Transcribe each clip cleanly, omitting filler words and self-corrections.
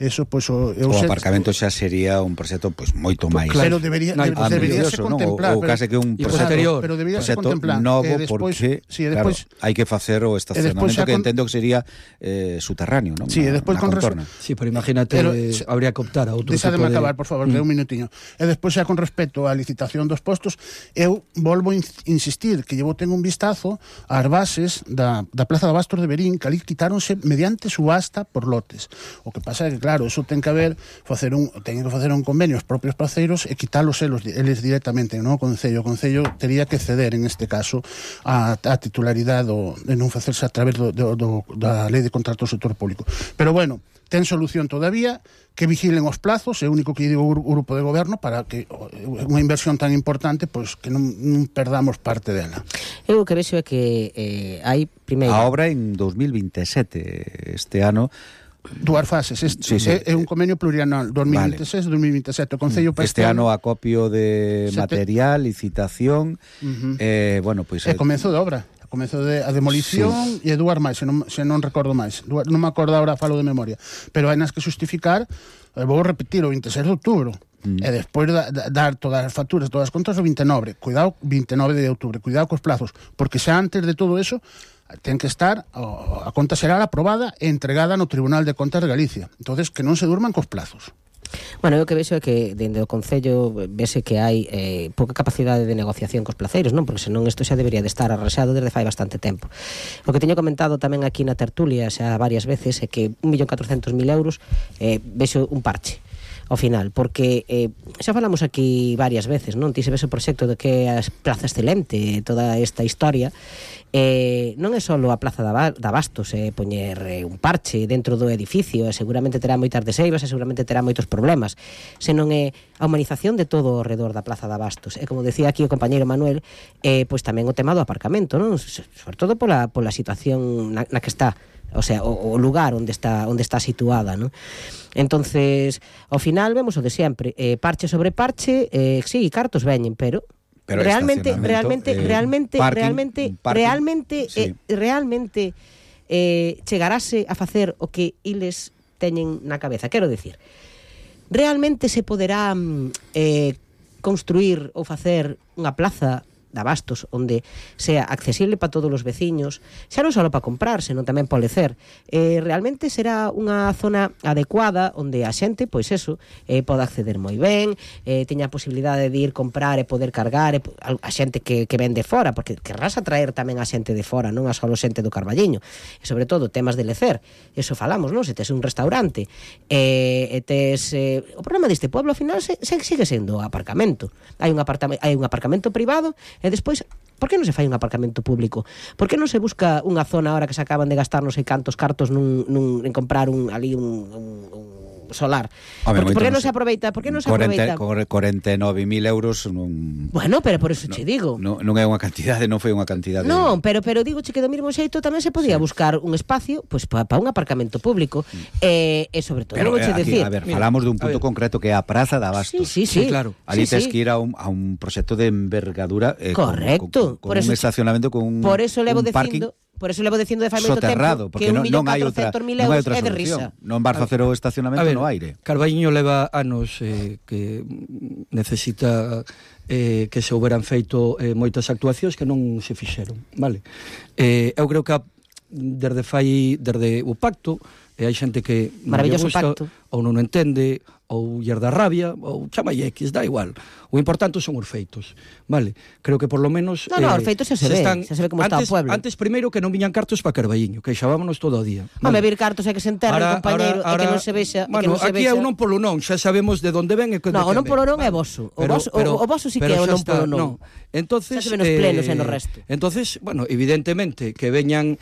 Eso, pois, o aparcamento xa sería un proxecto pois moito máis. Pero debería ser contemplado. Ou case que un proxecto novo, porque claro, hai que facer o estacionamento que entendo que sería subterráneo, non? Sí, e despois con sí, pero imagínate, habría que optar a outro tipo de... Deixademe acabar, por favor, que un minutiño. E despois xa con respecto á licitación dos postos, eu volvo a insistir que llevo ten un vistazo ás bases da Plaza de Abastos de Verín, que ali quitáronse mediante subasta por lotes. O que pasa é que, claro, eso ten que haber teñen que facer un convenio os propios placeiros e quitar os eles directamente, non? O Concello tería que ceder, en este caso, a titularidade de non facerse a través da Lei de Contratos do Sector Público. Pero, bueno, ten solución todavía, que vigilen os plazos, é o único que digo o grupo de goberno, para que unha inversión tan importante, pois que non perdamos parte dela. Eu o que vexo é que hai primeiro... A obra en 2027, este ano... Dúas fases, é un convenio plurianual 2026-2027. O Concello para este ano acopio de material, licitación, bueno, pois comezo de obra, comezo de a demolición e dúas máis, se non recordo máis, non me acordo agora, falo de memoria, pero hai nas que justificar, vou repetir, o 26 de outubro. E despois dar todas as facturas, todas as contas o 29 de outubro, cuidado cos plazos, porque xa antes de todo eso ten que estar a conta xeral aprobada e entregada no Tribunal de Contas de Galicia. Entonces, que non se durman cos plazos. Bueno, eu que vexo é que dende o Concello vese que hai pouca capacidade de negociación cos placeiros, non? Porque senón isto xa debería de estar arraxado desde fai bastante tempo. O que teño comentado tamén aquí na tertulia xa varias veces é que 1.400.000 euros vexo un parche ao final, porque xa falamos aquí varias veces, non? Ti se ves o proxecto de que a Plaza Excelente, toda esta historia, non é só a Plaza de Abastos, poñer un parche dentro do edificio, e seguramente terá moitas deseivas e seguramente terá moitos problemas, senón é a humanización de todo o redor da Plaza de Abastos. E como decía aquí o compañeiro Manuel, pois tamén o tema do aparcamento, non? Sobre todo pola situación na que está, o sea, o lugar onde está situada, non? Entonces, ao final vemos o de sempre, parche sobre parche, sí, cartos veñen, pero realmente chegarase a facer o que iles teñen na cabeza. Quero dicir, realmente se poderá construir ou facer unha plaza de Abastos onde sea accesible para todos os veciños, xa non só para comprar, senón tamén para lecer. Realmente será unha zona adecuada onde a xente, pois eso, pode acceder moi ben, teña a posibilidade de ir comprar e poder cargar, a xente que ven de fora, porque querrás atraer tamén a xente de fora, non a só a xente do Carballiño. E sobre todo temas de lecer, eso falamos, non? Se tes un restaurante e tes o problema deste pueblo ao final sigue sendo o aparcamento. Hai un aparcamento privado. E despois, por que non se fai un aparcamento público? Por que non se busca unha zona ahora que se acaban de gastar non sei cantos cartos en comprar un solar? Por que non se aproveita? Por que non se aproveita? 49.000 euros non... Bueno, pero por eso che digo. Non é unha cantidade, non foi unha cantidade... Non, pero digo che que do mesmo xeito tamén se podía buscar un espacio pois para un aparcamento público e sobre todo, pero, vou che decir... A ver, falamos dun punto concreto que é a Praza de Abastos. Sí, claro. Ali tes que ir a un proxecto de envergadura correcto. Con un estacionamento, con un parking. Por eso levo dicindo de fai moito tempo que 1.400.000 euros é de risa. Non vas facer o estacionamento no aire. Carballiño leva anos que necesita que se houberan feito moitas actuacións que non se fixeron, vale? Eu creo que desde o pacto hai xente que maravilloso pacto ou non entende, ou ller da rabia, ou chamalle X, da igual. O importante son os feitos, vale? Creo que por lo menos... os feitos xa se ve como está o pueblo. Antes, primeiro, que non viñan cartos para Carballiño, que xavámonos todo o día. Vale? Vir cartos é que se enterren, compañeiro, e que non se vexa... Bueno, aquí é un non polo non, xa sabemos de onde ven e que... Non, o non polo non é voso. O voso sí que é o non polo non. Entonces, xa se ven os plenos e no resto. Entonces, bueno, evidentemente, que veñan...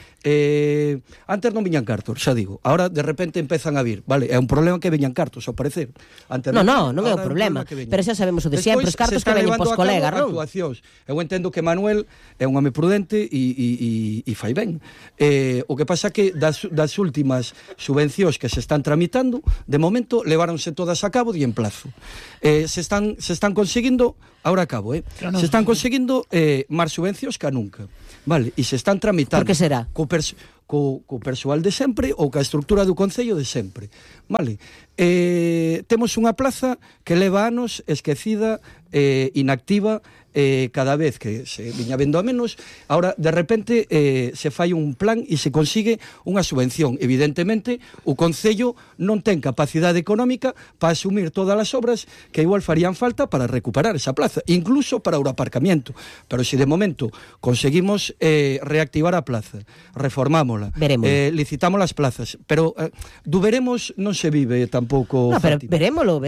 Antes non viñan cartos, xa digo. Ahora, de repente, empezan a vir, vale? É un problema que veñan cartos, ao parecer. Non é o problema, pero xa sabemos o de sempre, os cartos que veñen pos colegas, non? Eu entendo que Manuel é un home prudente e fai ben. O que pasa que das últimas subvencións que se están tramitando, de momento leváronse todas a cabo de en plazo. Se están conseguindo, ahora acabo, se están conseguindo máis subvencións que nunca. Vale, e se están tramitando. Por que será? co persoal de sempre ou ca estructura do Concello de sempre. Vale? Temos unha plaza que leva anos esquecida, inactiva, cada vez que se viña vendo a menos. Ahora, de repente, se fai un plan e se consigue unha subvención. Evidentemente, o Concello non ten capacidade económica para asumir todas as obras que igual farían falta para recuperar esa plaza, incluso para o aparcamiento. Pero se de momento conseguimos reactivar a plaza, reformámola, licitamos as plazas, pero do veremos non se vive tampouco. No, pero verémolo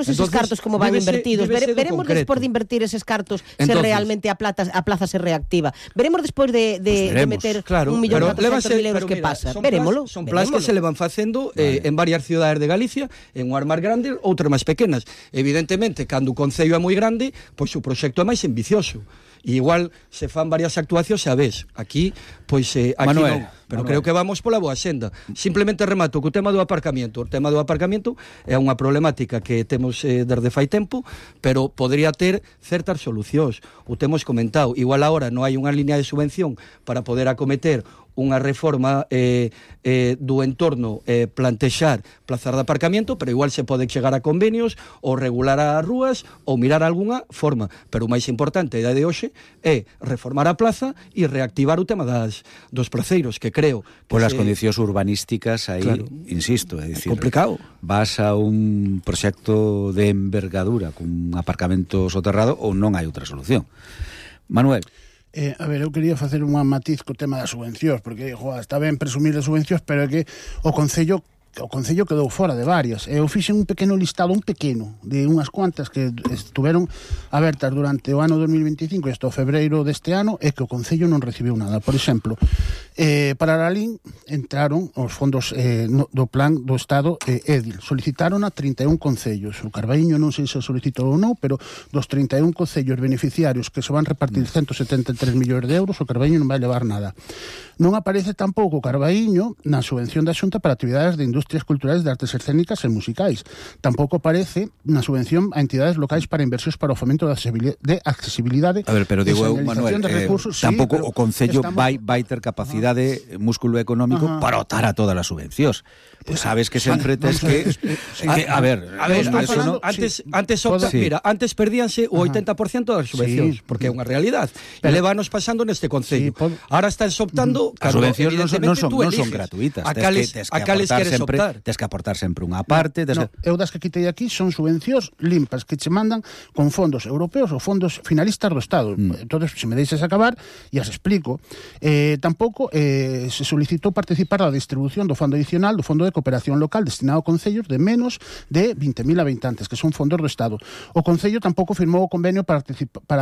eses cartos como van invertidos, veremos despois de invertir eses cartos se realmente a plaza se reactiva. Veremos despois de meter 1.400.000 euros que pasa. Verémolo. Son plazas que se le van facendo en varias cidades de Galicia, en unhas máis grandes, outras máis pequenas. Evidentemente, cando o Concello é moi grande, pois o proxecto é máis ambicioso. E igual se fan varias actuacións a vez. Aquí, pois, aquí Manuel, non. Pero creo que vamos pola boa senda. Simplemente remato co tema do aparcamiento. O tema do aparcamiento é unha problemática que temos desde fai tempo, pero podría ter certas solucións. O temos comentado. Igual agora non hai unha línea de subvención para poder acometer unha reforma do entorno, plantexar plazas de aparcamiento, pero igual se pode chegar a convenios ou regular as rúas ou mirar algunha forma. Pero o máis importante a idea de hoxe é reformar a plaza e reactivar o tema dos placeiros, que creo que polas condicións urbanísticas aí, claro, insisto, é dicir, complicado. Vas a un proxecto de envergadura con aparcamento soterrado ou non hai outra solución. Manuel. A ver, eu quería facer un matiz co tema das subvencións, porque, está ben presumir de subvencións, pero é que o Concello quedou fora de varias. Eu fixen un pequeno listado, de unhas cuantas que estuveron abertas durante o ano 2025 e hasta o febreiro deste ano, e que o Concello non recibiu nada. Por exemplo, para a LIN entraron os fondos do plan do Estado EDIL. Solicitaron a 31 concellos. O Carballiño non sei se solicitou ou non, pero dos 31 concellos beneficiarios que se van repartir 173 millóns de euros, o Carballiño non vai levar nada. Non aparece tampouco o Carballiño na subvención da Xunta para actividades de industrias culturais, de artes escénicas e musicais. Tampouco aparece na subvención a entidades locais para inversións para o fomento de accesibilidade. A ver, pero digo eu, Manuel, tampouco o Concello vai ter capacidade, músculo económico para optar a todas as subvencións. Pues sabes que sempre tes que a ver, antes perdíanse o 80% das subvencións, porque é unha realidad. E levanos pasando neste Concello. Ahora están optando. As subvencións non son gratuitas. A cales queres optar? Tens que aportar sempre unha parte. Eu das que quitei aquí son subvencións limpas que che mandan con fondos europeos ou fondos finalistas do Estado. Entonces, se me deixes acabar, e as explico. Tampouco se solicitou participar da distribución do fondo adicional do Fondo de Cooperación Local destinado a concellos de menos de 20.000 habitantes, que son fondos do Estado. O Concello tampouco firmou o convenio para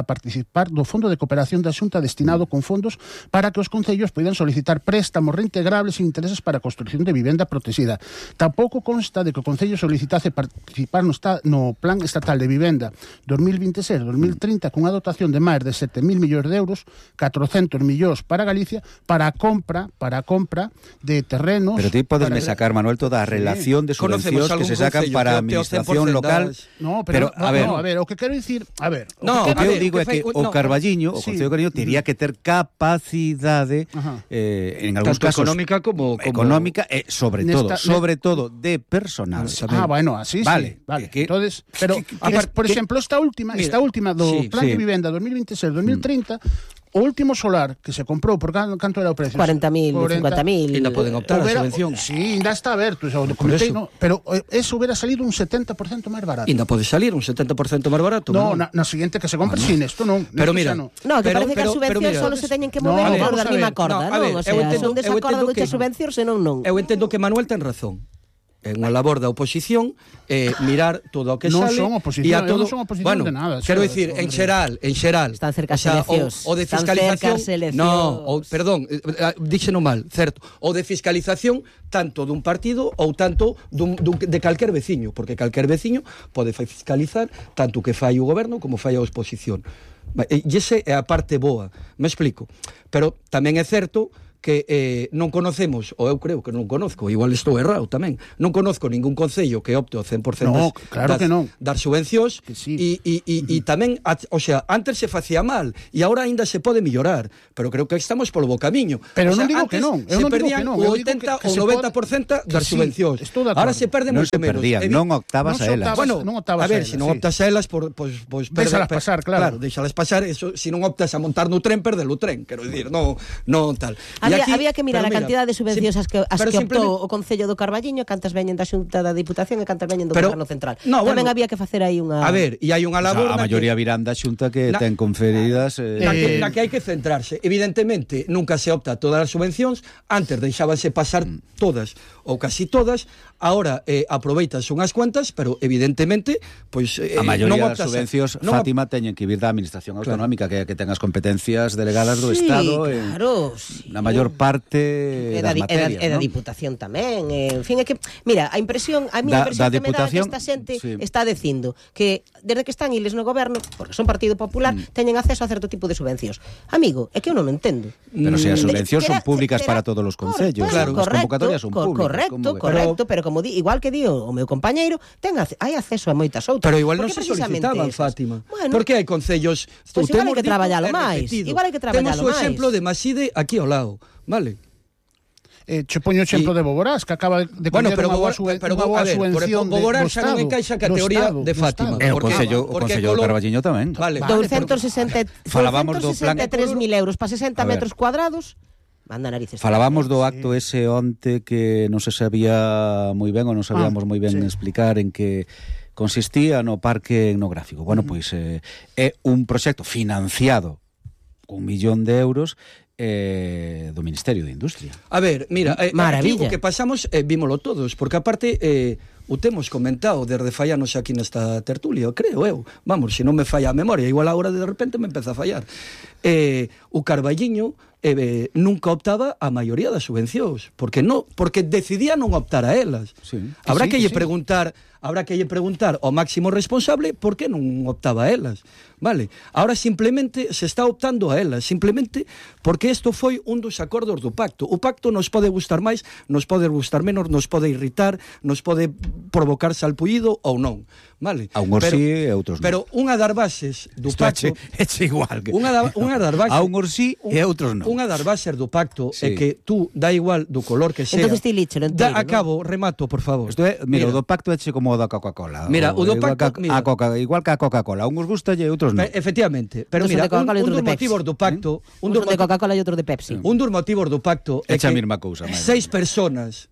participar do Fondo de Cooperación da Xunta destinado con fondos para que os concellos poidan solicitar préstamos reintegrables e intereses para a construción de vivenda protegida. Tampouco consta de que o Concello solicitase participar no Plan Estatal de Vivenda 2026-2030 cunha dotación de máis de 7.000 millóns de euros, 400 millóns para Galicia, para a compra de terrenos. Pero ti podesme sacar, Manuel, toda a relación de subvencións que se sacan para a administración local. No, pero a ver, o que quero dicir, o que eu digo é que o Carballiño, o Concello de Carballiño, tería que ter capacidade en algúns casos económica e sobre todo de personal. Así vale. Entonces, pero por exemplo, esta última do Plan de Vivenda 2026-2030, o último solar que se comprou, por canto era o precio? 40.000, 50.000. Ainda poden optar a subvención. Sí, ainda está aberto, pero eso hubiera salido un 70% máis barato. Ainda pode salir un 70% máis barato. No, na siguiente que se compre sin esto non. Pero mira, que parece que as subvencións solo se teñen que mover por da mesma corda, non? O sea, son desacordo que as subvencións senón non. Eu entendo que Manuel ten razón. É unha labor da oposición mirar todo o que sale. Non son oposición, non son oposición de nada. Quero dicir, en xeral. Están cerca eleccións. O de fiscalización. Perdón, díxeno mal, certo. O de fiscalización tanto dun partido ou tanto de calquer veciño, porque calquer veciño pode fiscalizar tanto o que fai o goberno como fai a oposición. E esa é a parte boa, me explico. Pero tamén é certo que non conocemos, ou eu creo que non conozco, igual estou errado tamén, non conozco ningún concello que opte ao 100% das subvencións, e tamén, o sea, antes se facía mal, e agora aínda se pode mellorar, pero creo que estamos polo bo camiño. Pero non digo que non, se perdían o 80 ou 90% das subvencións. Ahora se perde moito menos. Non optabas a elas. Bueno, a ver, se non optas a elas, pois deixalas pasar, claro. Deixalas pasar, se non optas a montar no tren, perde o tren, quero dicir, non tal. Había que mirar a cantidad de subvencións as que optou o Concello do Carballiño, cantas veñen da Xunta da Diputación e cantas veñen do Goberno Central. Tamén había que facer aí unha... A ver, e hai unha labor... A maioría virán da Xunta que ten conferidas... Na que hai que centrarse. Evidentemente, nunca se opta a todas as subvencións, antes deixábanse pasar todas, ou casi todas, ahora aproveitas unhas cuantas, pero evidentemente, pois... a maioría das subvencións, Fátima, teñen que vir da Administración Autonómica, que ten as competencias delegadas do Estado, na maior parte das materias, e da Diputación tamén, en fin, é que, mira, a impresión que me dá que esta xente está dicindo que desde que están eles no goberno, porque son Partido Popular, teñen acceso a certo tipo de subvencións. Amigo, é que eu non o entendo. Pero se as subvencións son públicas para todos os concellos, as convocatorias son públicas. Correcto, pero como igual que di o meu compañeiro, hai acceso a moitas outras. Pero igual non se solicitaban, Fátima. Porque hai concellos... Pois igual hai que traballalo máis. Temos o exemplo de Maside aquí ao lado, vale? Che poño o exemplo de Boborás, que acaba de coñer unha boa subvención do Boborás xa non encaixa a categoría de Fátima. O Concello do Carballiño tamén. 263.000 euros para 60 metros cuadrados. Manda narices. Falábamos do acto ese onte que non se sabía moi ben ou non sabíamos moi ben explicar en que consistía no parque etnográfico. Bueno, pois é un proxecto financiado con 1 millón de euros do Ministerio de Industria. A ver, mira, maravilla. O que pasamos, vímolo todos, porque aparte o temos comentado desde fallanos aquí nesta tertulia, creo eu. Vamos, se non me falla a memoria, igual agora de repente me empeza a fallar. O Carballiño nunca optaba a maioría das subvencións, porque decidía non optar a elas. Habrá que lle preguntar ao máximo responsable por que non optaba a elas. Vale? Ahora simplemente se está optando a elas, simplemente porque isto foi un dos acordos do pacto. O pacto nos pode gustar máis, nos pode gustar menos, nos pode irritar, nos pode provocar salpullido ou non. Vale? A unhos sí e outros non. Pero unha das bases do pacto... É igual. Unha das bases... A unhos sí e outros non. Unha das bases do pacto é que tú, da igual do color que sea... Entonces ti líchelo enteiro, ¿no? Acabo, remato, por favor. Mira, o do pacto é como o da Coca-Cola. Mira, o do pacto... Igual que a Coca-Cola. A unhos gusta e outros non. Efectivamente. Pero mira, un dos motivos do pacto... Un de Coca-Cola e outro de Pepsi. Un dos motivos do pacto é que... a mesma cousa. 6 personas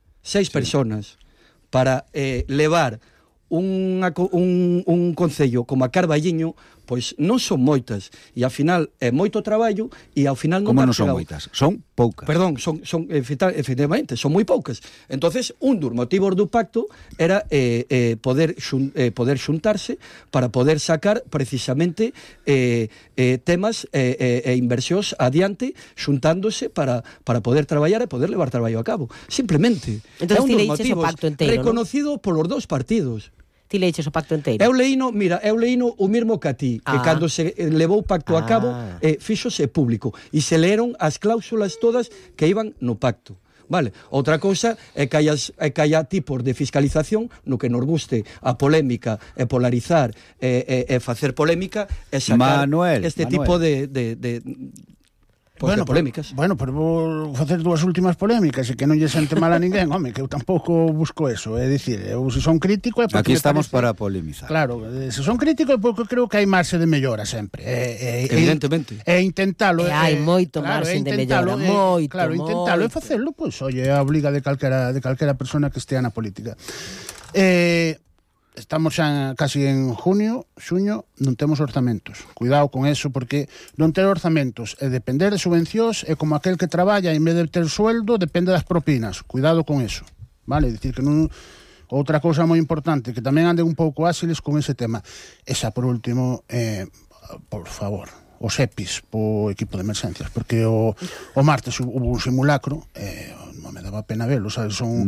para levar un concello como a Carballiño, pois non son moitas, e ao final é moito traballo e ao final non... Como non son moitas? Son poucas. Perdón, son efectivamente, son moi poucas. Entonces, un dos motivos do pacto era poder xuntarse para poder sacar precisamente temas e inversións adiante, xuntándose para poder traballar e poder levar traballo a cabo. Simplemente. Entonces, é un dos motivos reconocido polos dous partidos. Ti leiches o pacto enteiro? Eu leíno o mesmo que a ti, que cando se levou o pacto a cabo, fíxose público, e se leeron as cláusulas todas que iban no pacto. Vale. Outra cousa é que haya tipos de fiscalización no que nos guste a polémica e polarizar e facer polémica e sacar este tipo de polémicas. Bueno, pero vou facer dúas últimas polémicas e que non lle sente mal a ninguén, home, que eu tampouco busco eso, é dicir, eu se son crítico é porque aquí estamos para polemizar. Claro, se son crítico é porque creo que hai marxe de mellora sempre. Evidentemente. E intentalo. Hai moito marxe de mellora, moito. Claro, intentalo e facelo, pois, oye, é a obriga de calquera persona que estea na política. Estamos xa casi en xuño, non temos orzamentos. Cuidado con eso, porque non ter orzamentos e depender de subvencións é como aquel que traballa e en vez de ter sueldo depende das propinas. Cuidado con eso, vale? Dicir que non... Outra cousa moi importante, que tamén anden un pouco áxiles con ese tema. Esa, por último, por favor, os EPIs po equipo de emergencias, porque o martes hubo un simulacro me daba pena verlo, sabes, son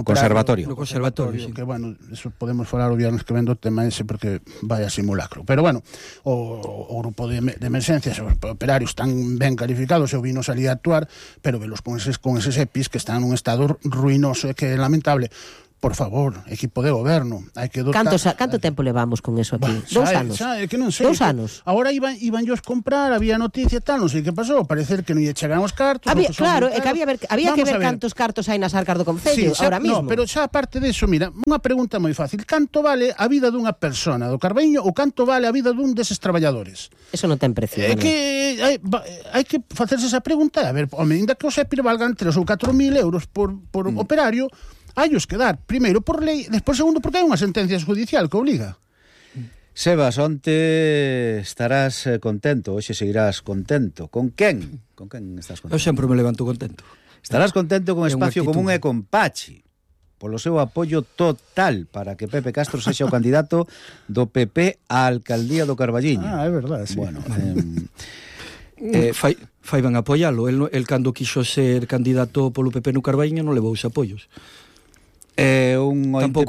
conservatorio. No conservatorio, sí. Que, bueno, eso podemos falar o viernes que ven do tema ese porque vaya simulacro. Pero, bueno, o grupo de emergencias, os operarios están ben calificados, eu vino salir a actuar, pero velos con eses EPIs que están nun estado ruinoso e que é lamentable. Por favor, equipo de goberno, hai que dotar... Canto tempo levamos con eso aquí? Bah, 2 anos? Que non sei. 2 anos? Agora iban a comprar, había noticia e tal, non sei que pasou, parecer que non lle chegan os cartos. Claro, é que había que ver cantos cartos hai nas arcas do Concello, ahora mismo. No, pero xa aparte deso, mira, unha pregunta moi fácil. Canto vale a vida dunha persona do Carballiño ou canto vale a vida dun deses traballadores? Eso non ten precio. É que hai que facerse esa pregunta, a ver, home, ainda que os EPIR valgan 3 ou 4.000 euros por operario, hai os que dar, primeiro por lei, despois segundo porque hai unha sentencia judicial que obliga. Sebas, onte estarás contento, hoxe seguirás contento. Con quen? Con quen estás contento? Eu sempre me levanto contento. Estarás contento con Espacio Común e con Pachi, polo seu apoio total para que Pepe Castro sexa o candidato do PP á alcaldía do Carballiño. É verdade, sí. Bueno, fai ben apoialo. El cando quixo ser candidato polo PP no Carballiño non levou os apoios. Un ointe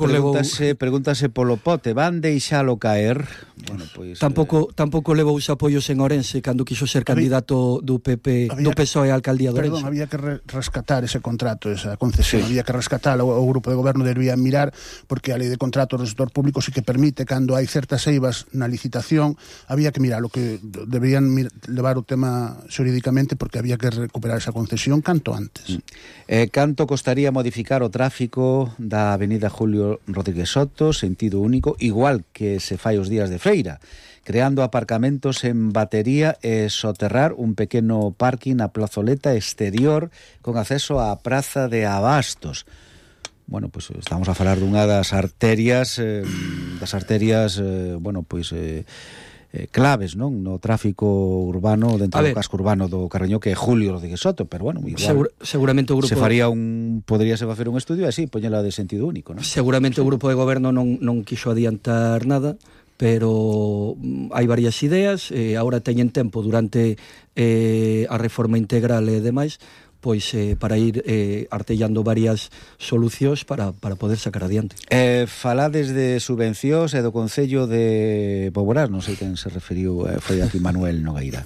pregúntase polo pote, van deixalo caer? Bueno, pois, tampouco levou os apoios en Orense cando quixo ser candidato do PP, do PSOE á alcaldía de Orense. Perdón, había que rescatar ese contrato, esa concesión, había que rescatar, o grupo de goberno debería mirar, porque a lei de contratos do sector público sí que permite, cando hai certas eivas na licitación, había que mirar, o que deberían levar o tema xurídicamente, porque había que recuperar esa concesión canto antes. Canto costaría modificar o tráfico da avenida Julio Rodríguez Soto, sentido único, igual que se fai os días de feira, creando aparcamentos en batería e soterrar un pequeno parking na plazoleta exterior con acceso á praza de Abastos. Bueno, pois estamos a falar dunha das arterias, bueno, pois claves, non, no tráfico urbano dentro do casco urbano do Carballiño, que é Julio Rodríguez Soto, pero bueno, igual seguramente o grupo podríase facer un estudio así, poñela de sentido único, non? Seguramente o grupo de goberno non quixo adiantar nada, pero hai varias ideas, agora teñen tempo durante a reforma integral e demais, pois para ir artellando varias solucións para poder sacar adiante. Falades de subvencións e do Concello de Boborás, non sei quen se referiu, foi aquí Manuel Nogueira.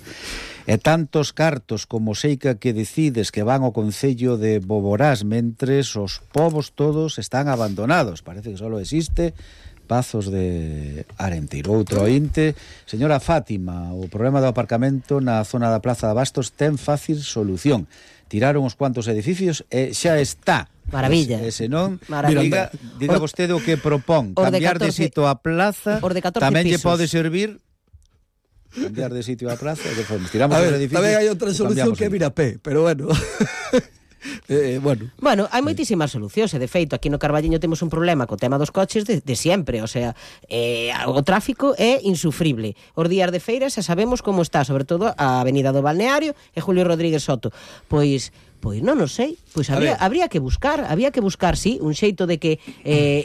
E tantos cartos como seica que decides que van ao Concello de Boborás, mentres os povos todos están abandonados. Parece que só existe Pazos de Arenteiro. Outro ointe, señora Fátima, o problema do aparcamento na zona da Plaza de Abastos ten fácil solución. Tiraron uns cuantos edificios e xa está. Maravilla. E se non, diga vostede o que propón. Cambiar de sitio a plaza, tamén lle pode servir cambiar de sitio a plaza. Tiramos os edificios. Tamén hai outra solución que mira pé, pero bueno. Bueno, hai moitísimas solucións e de feito aquí no Carballiño temos un problema co tema dos coches de siempre, o sea, o tráfico é insufrible. Os días de feira xa sabemos como está, sobre todo a Avenida do Balneario e Julio Rodríguez Soto. Pois non o sei, pois habría que buscar, sí, un xeito de que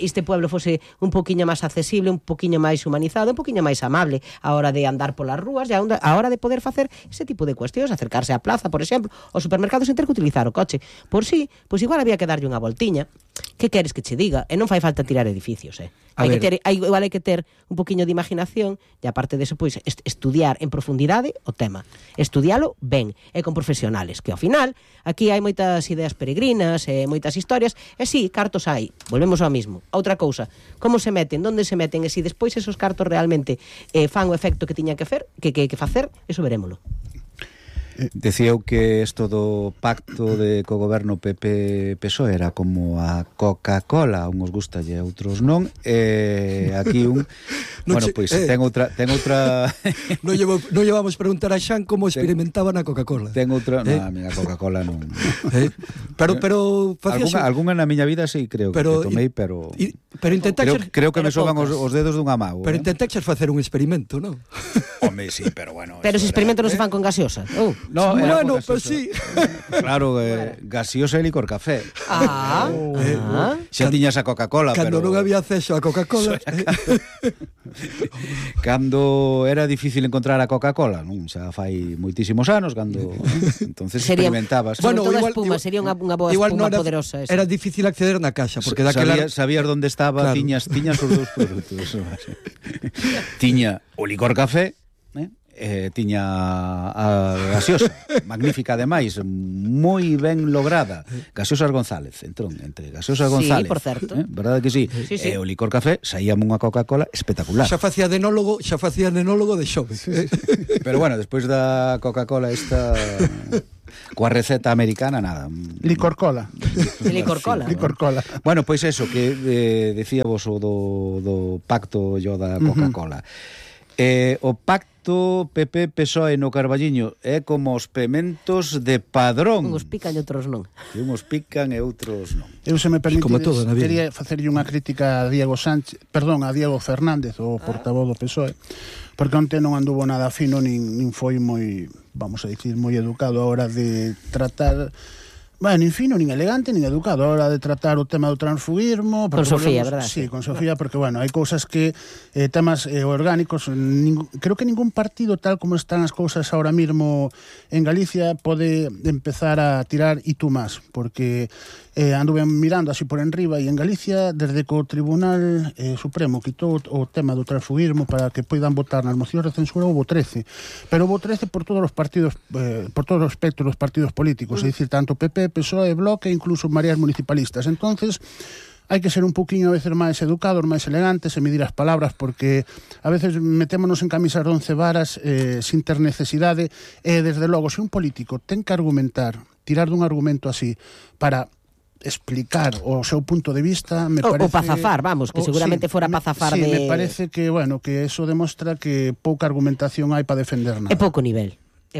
este pueblo fose un poquinho máis accesible, un poquinho máis humanizado, un poquinho máis amable a hora de andar polas rúas e a hora de poder facer ese tipo de cuestións, acercarse á plaza, por exemplo, aos supermercados sen ter que utilizar o coche. Por si, pois igual había que darlle unha voltiña. Que queres que che diga? E non fai falta tirar edificios, igual hai que ter un poquinho de imaginación e aparte deso, pois, estudiar en profundidade o tema. Estudialo ben e con profesionales, que ao final aquí hai moitas ideas peregrinas e moitas historias, e si, cartos hai, volvemos ao mismo. Outra cousa, como se meten, onde se meten, e si despois esos cartos realmente fan o efecto que tiñan que facer, eso verémolo. Decía eu que isto do pacto de co-goberno PP-PSOE era como a Coca-Cola, a uns gusta e a outros non, aquí un bueno, pois ten outra non llevamos preguntar a Xan como experimentaban a Coca-Cola. Ten outra, a miña Coca-Cola non. Pero algunha na miña vida sí creo que tomei, pero creo que me soban os dedos dunha mão. Pero intentaxes facer un experimento, non? Home, sí, pero bueno. Pero ese experimento non se fan con gaseosa. No, bueno, pues sí. Claro, gaseosa e licor café. Xa tiñas a Coca-Cola, cando pero non había acceso a Coca-Cola. Cando era difícil encontrar a Coca-Cola, non? Xa fai moitísimos anos, cando entonces experimentabas. Bueno, todo espuma, sería unha boa espuma poderosa esa. Era difícil acceder na casa, porque daquela sabías onde estaba, claro. tiñas os dous produtos. Tiña o licor café, tiña a gaseosa, magnífica ademais, moi ben lograda, Gaseosas González, entre Gaseosas González, por certo, verdade que sí. E o licor café saíame unha Coca-Cola espectacular. Xa facía enólogo de xove. Pero bueno, despois da Coca-Cola esta coa receta americana, nada. Licor cola. Licor cola. Licor cola. Bueno, pois eso, que decíavos o do pacto yo da Coca-Cola. O pacto PP-PSOE no Carballiño é como os pementos de padrón. Uns pican e outros non. Que uns pican e outros non. Eu, se me permitides, quería facerlle unha crítica a Diego Fernández, o portavoz do PSOE, porque onte non anduvo nada fino, nin foi moi, vamos a dicir, moi educado a hora de tratar... Bueno, nin fino, nin elegante, nin educado a hora de tratar o tema do transfugismo. Con Sofía, verdad? Sí, con Sofía, porque, bueno, hai cousas que, temas orgánicos, creo que ningún partido, tal como están as cousas ahora mismo en Galicia, pode empezar a tirar y tú más, porque anduve mirando así por enriba, e en Galicia, desde que o Tribunal Supremo quitou o tema do transfugismo para que poidan votar nas mocións de censura, houve 13, pero houve 13 por todos os partidos, por todo o espectro dos partidos políticos, é dicir, tanto PP, PSOE, Bloque e incluso mareas municipalistas. Entonces, hai que ser un poquinho a veces máis educados, máis elegantes e medir as palabras, porque a veces metémonos en camisas de 11 varas sin ter necesidade, e desde logo, se un político ten que argumentar, tirar dun argumento así para explicar o seu punto de vista, me parece... O para zafar, vamos, que seguramente fora para zafar de... Sí, me parece que, bueno, que eso demostra que pouca argumentación hai para defender nada. É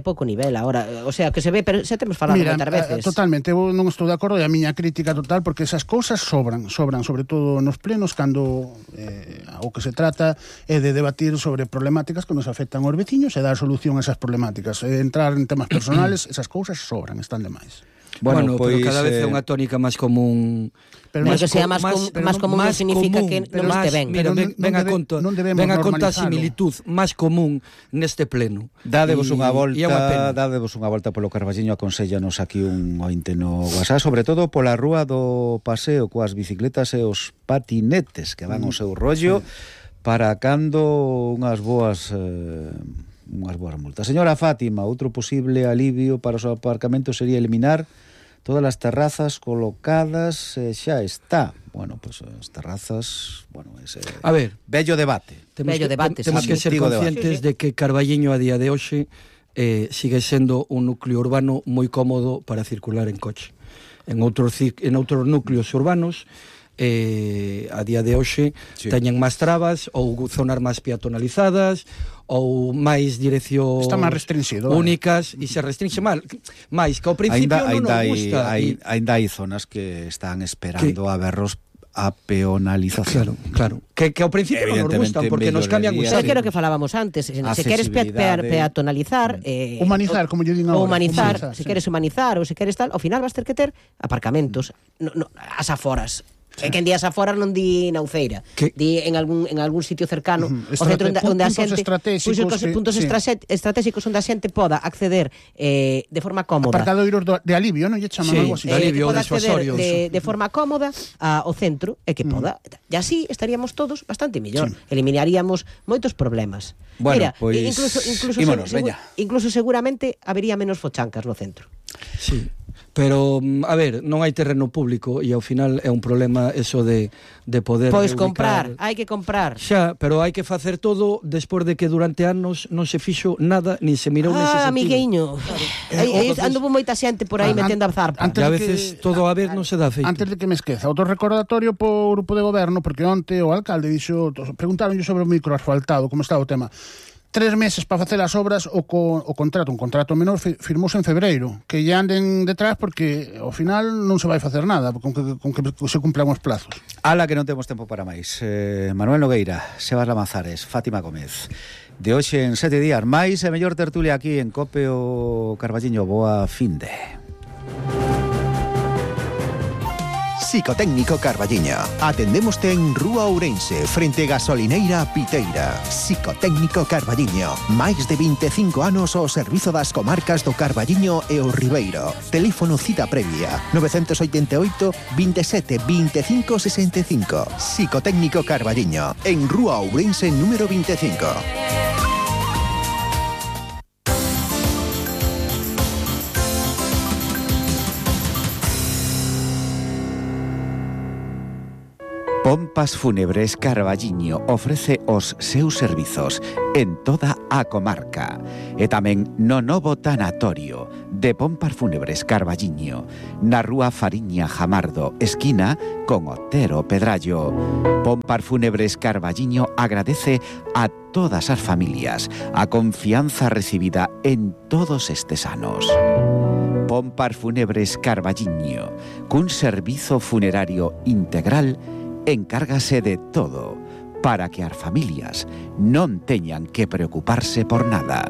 pouco nivel agora, o sea, que se ve, pero xa temos falado moitas veces. Totalmente, eu non estou de acordo, e a miña crítica total, porque esas cousas sobran, sobre todo nos plenos, cando o que se trata é de debatir sobre problemáticas que nos afectan aos veciños e dar solución a esas problemáticas. Entrar en temas personales, esas cousas sobran, están demais. Bueno, pero cada vez é unha tónica máis común. Pero que sea máis común non significa que non este ben. Mira, ven a conta a similitud máis común neste pleno. Dadevos unha volta polo Carballiño, aconséllanos aquí un ointe no WhatsApp, sobre todo pola rúa do paseo coas bicicletas e os patinetes que van ao seu rollo, para cando unhas boas multas. Señora Fátima, outro posible alivio para os aparcamentos sería eliminar todas as terrazas colocadas, xa está. Bueno, pues as terrazas, bueno, ese a ver, bello debate. Temos que ser conscientes de que Carballiño a día de hoxe sigue sendo un núcleo urbano moi cómodo para circular en coche. En outros núcleos urbanos a día de hoxe teñen máis trabas ou zonas máis peatonalizadas ou máis dirección únicas, e se restringe máis que ao principio non nos gusta. Ainda hai zonas que están esperando a verlos a peonalización. Claro. Que ao principio non nos gustan, porque nos cambian o xario. Que o que falábamos antes, se queres peatonalizar, humanizar, como yo digo agora, humanizar, se queres humanizar ou se queres tal, ao final vas ter que ter aparcamentos as aforas. É que en días aforas non di na Uceira, di en algún sitio cercano, o centro onde a xente, puntos estratégicos onde a xente poda acceder de forma cómoda. Aparcadoiros de alivio, non lle chaman algo así. De alivio, poda acceder de forma cómoda ao centro, e que poda, e así estaríamos todos bastante mellor, eliminaríamos moitos problemas. Bueno, mira, pues, incluso seguramente habería menos fochancas no centro. Sí. Pero, a ver, non hai terreno público e ao final é un problema eso de poder comprar, hai que comprar. Xa, pero hai que facer todo despois de que durante anos non se fixo nada, nin se mirou nese sentido. Amigueño, anduvo moita xente por aí metendo a zarpa. E a veces todo a ver non se dá feito. Antes de que me esqueza, outro recordatorio po grupo de goberno, porque onte o alcalde dixo, preguntaronlle sobre o microasfaltado, como está o tema. 3 meses para facer as obras, un contrato menor firmouse en febreiro, que ya anden detrás, porque ao final non se vai facer nada con que se cumplan os plazos. Ala, que non temos tempo para máis. Manuel Nogueira, Sebas Lamazares, Fátima Gómez, de hoxe en 7 días. Máis e mellor tertulia aquí en Cope o Carballiño. Boa finde. Psicotécnico Carballiño. Atendémoste en Rúa Ourense, frente Gasolineira Piteira. Psicotécnico Carballiño. Máis de 25 anos ao servizo das comarcas do Carballiño e o Ribeiro. Teléfono cita previa 988 27 25 65. Psicotécnico Carballiño. En Rúa Ourense número 25. Pompas Fúnebres Carballiño ofrece os seus servizos en toda a comarca e tamén no novo tanatorio de Pompas Fúnebres Carballiño na rúa Fariña Jamardo, esquina con Otero Pedrallo. Pompas Fúnebres Carballiño agradece a todas as familias a confianza recibida en todos estes anos. Pompas Fúnebres Carballiño, cun servizo funerario integral, encárgase de todo para que as familias non teñan que preocuparse por nada.